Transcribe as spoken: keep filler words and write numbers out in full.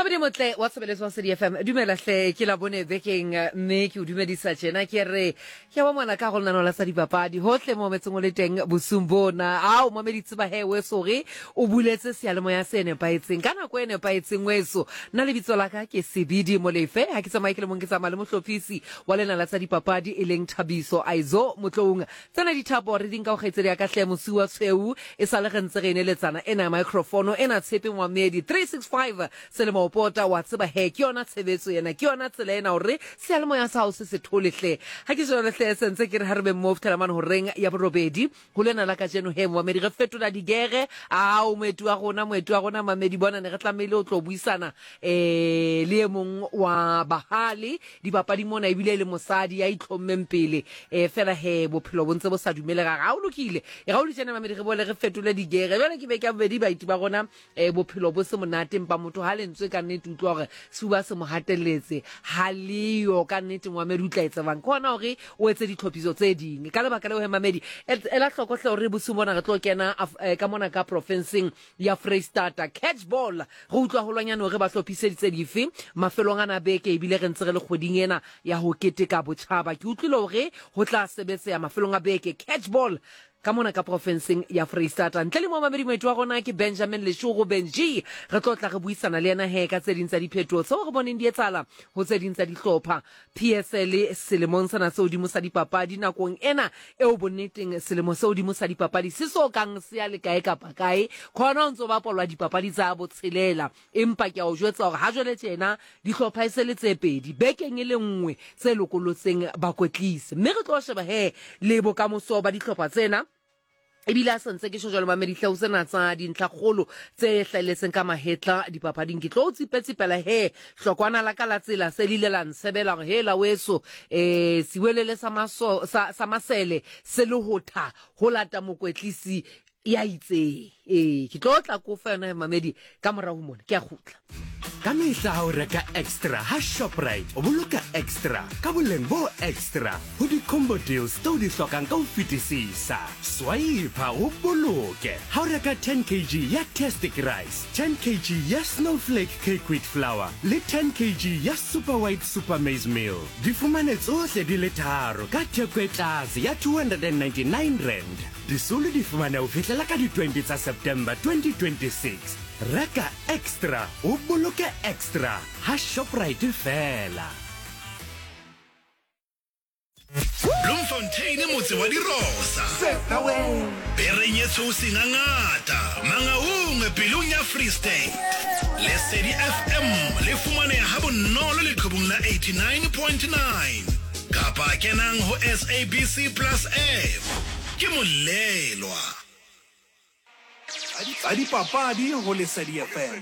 Mamedi motle wa tshebeletso wa Sedi F M, dumela hle, ke la bone bekeng, mme ke o dumedisa tjena, ke re ke wa mona ka go lenaneo la tsa dipapadi hohle mo metseng o le teng bosung bona. Ao mamedi, tseba he weso re o buletse seyalemoya se nepahetseng ka nako e nepahetseng weso. Nna lebitso la ka ke Sebidi Molefe, ha ke tsamaye ke le mong, ke tsamaya le mohlophisi wa lena la tsa dipapadi e leng Thabiso Aizo Motloung. Tsena dithapo re di nka ho kgaitsedi ya ka hle Mosiwa Tshweu, e sale re ntse re eneletsana ena ya microphone ena tshepe Moamedi three six five selemo o pota wa tseba he ke yona tshebetso ena, ke yona tsela ena hore seyalemoya sa hao se se thole hle. Ha ke jwale hle se ntse ke re ha re be mmoho fihlela mane horeng ya borobedi ho lena la kajeno he Moamedi re fetola digere. Ao moeti wa rona, moeti wa rona Mamedi bona ne re tlamehile o tlo buisana eh le e mong wa bahale dipapadi mona, ebile le mosadi ya itlhommeng pele eh fela he bophelo bo ntse bo sa dumele ga ga o lokile. E ga o le tjena Mamedi re bole re fetole digere jwale ke beke ya bobedi baeti ba rona eh bophelo bo se monate, empa motho ha lentswe ka nnete utlwa hore sefuba se mo hatelletse ha leyo ka nnete Moamedi o tla etsa bang ke hona hore o etse ditlhophiso tse ding. Ka lebaka leo he Mamedi ela hloko hle hore bosiu bona re tlo kena ka mona ka profenseng ya Freistata catch ball re utlwa holwanyane hore ba hlophiseditse dife mafelong ana beke, ebile re ntse re le kgweding ena ya ho keteka botjhaba. Ke utlwile hore ho tla sebetseha mafelong a beke catch ball ka mona ka profenseng ya Freistata. Ntle le mo mamedi moeti wa rona ke Benjamin Leshogo Benji, re tlo tla re buisana le yena he ka tse ding tsa diphetoho tseo re boneng di etsahala ho tse ding tsa dihlopha P S L selemong sena se hodimo sa dipapadi nakong ena eo bonneteng selemo se hodimo sa dipapadi se so kang se ya le kae kapa kae khona o ntso bapalwa dipapadi tsa botshelela, empa ke a o jwetsa hore ha jwale tjena dihlopha e se le tse pedi bekeng e le nngwe tse lokolotseng bakwetlisi, mme re tlo sheba he le bokamoso ba dihlopha tsena. Ebile a santse ke tjho jwalo mamedi hle ho sena tsa dintlhakgolo tse hlahelletseng ka mahetla dipapading. Ke tlo tsipetsipela he hlokwana la ka la tsela se le ile la nsebela hore he la weso eh siwelele sa maso sa, sa masele se le ho tha ho lata mokwetlisi ya itseng. Eh ke tlo tla ko fa yona mamedi ka morao ho mona ke a kgutla. Ka mehla ha o reka extra ha Shoprite o boloka extra ka boleng bo extra ho di-combo deals tseo di hlokang ka ho fetisisa. Swipe o boloke ha o reka ten kilograms ya Tastic Rice, ten kilograms ya Snowflake Cake Wheat Flour le ten kilograms ya Super White Super Maize Meal. Di fumane tsohle di le tharo ka theko e tlase ya two hundred and ninety-nine rand. Disolo di fumane ho fihlela ka di twenty tsa September twenty twenty-six. Reka extra o boloke extra ha Shoprite fela. Bloemfontein motse wa dirosa. Bereng e tshweu sengangata, Mangaung pelong ya Free State. Lesedi F M le fumaneha ha bonolo leqhubung la eighty-nine point nine. Kapa kenang ho S A B C Plus F. Ke molelwa. Tsa dipapadi ho Lesedi F M.